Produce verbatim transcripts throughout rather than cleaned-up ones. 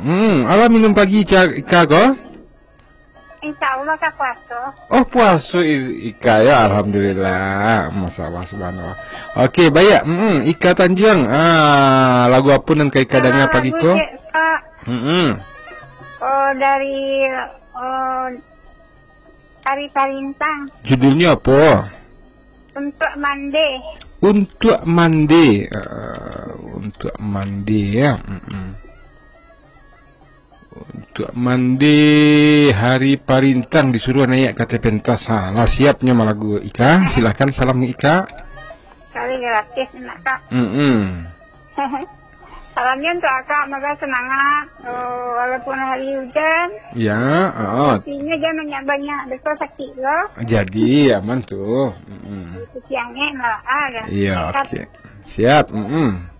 Hmm, alah minum pagi, Ika, Ika ko? Insya Allah ka puaso. Oh, puaso i-, Ika, ya, alhamdulillah. Masya Allah, subhanallah. Oke, baik. Hmm, Ika Tanjuang. Ah, lagu apa nan ka Ika dengar pagi ko? Lagu cek, Kak. Hmm. Oh, dari, oh, Hari Parintang. Judulnya apa? Untuk Mande. Untuk Mande. Ah, Untuk Mande, ya. Hmm. Untuk Mande, Hari Parintang disuruh naik ka ateh pentas. Ha, lah siapnya malagu Ika. Silakan salam Ika. Kali gratis nak, Kak. Mm-mm. Salamnya untuk Akak, moga semangat. Oh, walaupun hari hujan, ya, ah, kopinya jangan banyak-banyak, besok sakit lo. Jadi aman tu. Mm-mm. Kaki angek malah ada. Iya, oke. Siap. Mm-mm.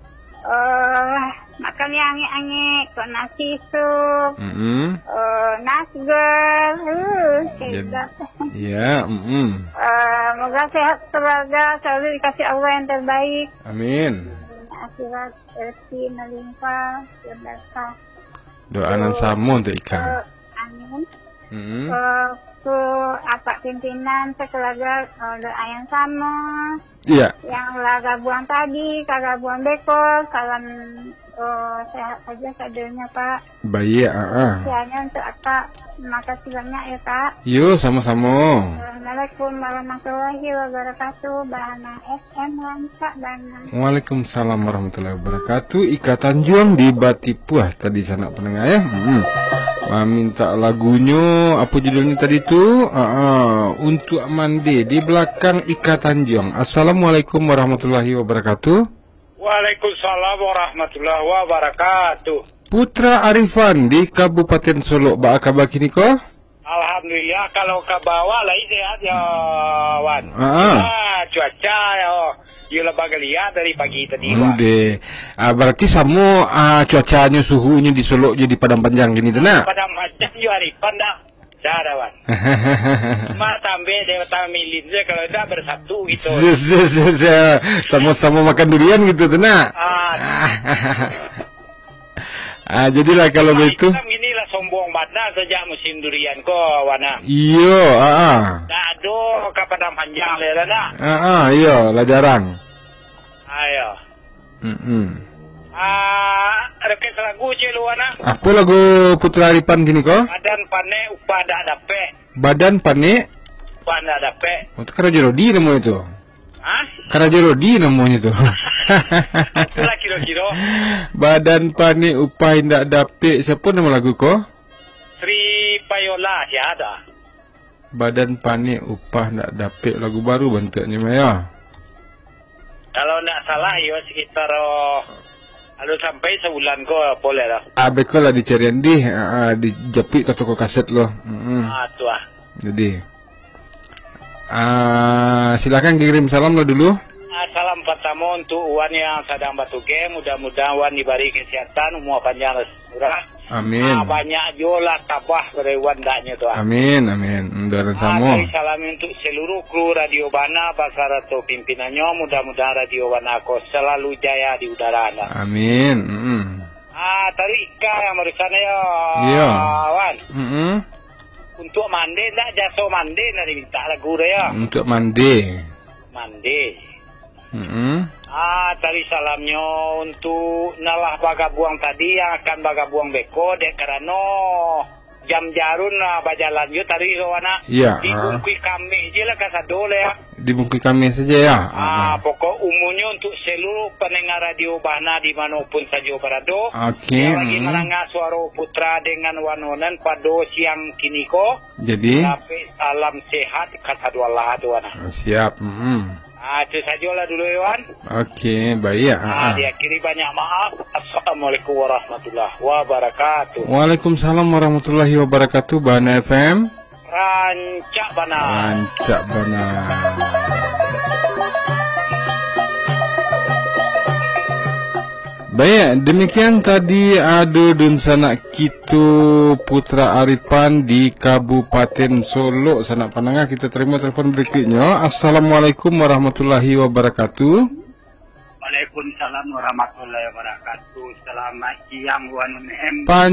Eh, makan yang angek-angek, kok nasi sup, mm-mm, eh, nasgor, uh, sedap. Iya, mm-mm. Eh, moga sehat keluarga, selalu dikasih Allah yang terbaik. Amin. Akhirat rezeki melimpah, berkah. Doa nan sama untuk Ika. Eh, amin. Mm-mm. Eh, ke apak pimpinan sekeluarga, eh, doa yang sama. Iya. Yang lah gabuang tadi, ka gabuang beko, salam, eh, sehat saja sadonyo, Pak. Baik, ah, ah. Kiranya untuk Akak, terima kasih banyak ya, Kak. Yo, sama-sama. Assalamualaikum warahmatullahi wabarakatuh. Bahana F M rancak bana. Waalaikumsalam warahmatullahi wabarakatuh. Ika Tanjuang di Batipuah tadi sanak pendengar ya. Hmm. Ah, minta lagunyo, apa judulnya tadi tu? Ah, ah, Untuk Mande di belakang Ika Tanjuang. Assalamualaikum warahmatullahi wabarakatuh. Waalaikumsalam warahmatullahi wabarakatuh. Putra Arifan di Kabupaten Solok, baa kaba kini ko? Alhamdulillah, kalau ka bawah lai sehat yo, Wan. Ah, ah. Ah, cuaca yo, yo lah bagaliat dari pagi tadi, Wan. Ndeh. Ah, berarti samo, ah, cuacanyo, suhunyo di Solok jo di Padang Panjang kini tu, nak? Padang Panjang jo Arifan dah. Dah, dah, Wan. Cuma tambah dewata milin sajo, kalau indak bersatu gitu. Se-, se-, se-, se-, samo-samo makan durian gitu tu, nak? Ah. Ah, jadilah kalau begitu. Islam inilah sombong bana sajak musim durian ko, Wan, ah. Iyo, ah, ah. Ndak ado ka Padang Panjang lai lah, nak? Ah, ah, iyo, lah jarang. Ayo. Mm-mm. Ah, request lagu ciek lu, Wan, ah. Apa lagu Putra Arifan kini ko? Badan panek, upah ndak dapek. Badan panek? Upah ndak dapek. Oh, tu Karajo Rodi namonyo tu. Hah? Karajo Rodi namonyo tu. Itulah kiro-kiro. Badan panek, upah indak dapek. Siapa nama lagu ko? Sri Payola, sia ado. Badan panek, upah ndak dapek, lagu baru bantuaknyo mah, yo. Kalau ndak salah, iyo sekitar, oh, alun sampai sabulan ko, apo lai lah. Ah, beko lah dicarian dih, ah, ah, dijapuik ka toko kaset lo. Mm-mm. Ah, tu ah. Jadi, ah, silakan kirim salam lah dulu. Ah, salam pertama untuk Wan yang sadang batugas, mudah-mudahan Wan dibari kesehatan, umua panjang, rezeki murah. Amin. Ah, banyak juo lah tabah dari Wan daknyo tu, ah. Amin, amin. Mudah-mudahan samo. Ah, salam untuk seluruh kru Radio Bana basarato pimpinannyo, mudah-mudahan Radio Bana ko selalu jaya di udara, nah. Amin. Mm-mm. Ah, taruih Ika yang barusan yo, iyo, Wan. Mm-mm. Untuk mande ndak, jaso mande ndak diminta lagu tu yo. Untuk mande. Mande. Mm-mm. Ah, tadi salamnyo untuk nan lah bagabuang tadi, yang akan bagabuang beko, dek karano jam jarun lah bajalan jo tadi tu, anak. Iya, ah. Dibungkuih kamih je lah kasado lah, ya. Dibungkuih kamih saja, ya. Ah, ah, ah. Pokok umumnyo untuk seluruh pendengar Radio Bahana di mano pun sajo barado, oke, yang lagi, mm-mm, mandanga suaro Putra dengan Wan Onan pado siang kini ko. Jadi? Tapi salam sehat kasadolah tu, anak. Siap, mm-mm. Ah, itu sajolah dulu, Iwan. Oke, baik. Ah, ah, ah. Diakhiri banyak maaf. Assalamualaikum warahmatullahi wabarakatuh. Waalaikumsalam warahmatullahi wabarakatuh, Bahana F M. Rancak bana. Rancak bana. Baik, demikian tadi ado dunsanak kito Putra Arifan di Kabupaten Solok. Sanak pandanga, kito tarimo telepon berikutnyo. Assalamualaikum warahmatullahi wabarakatuh. Waalaikumsalam warahmatullahi wabarakatuh. Selamat siang, Wan M. Pan-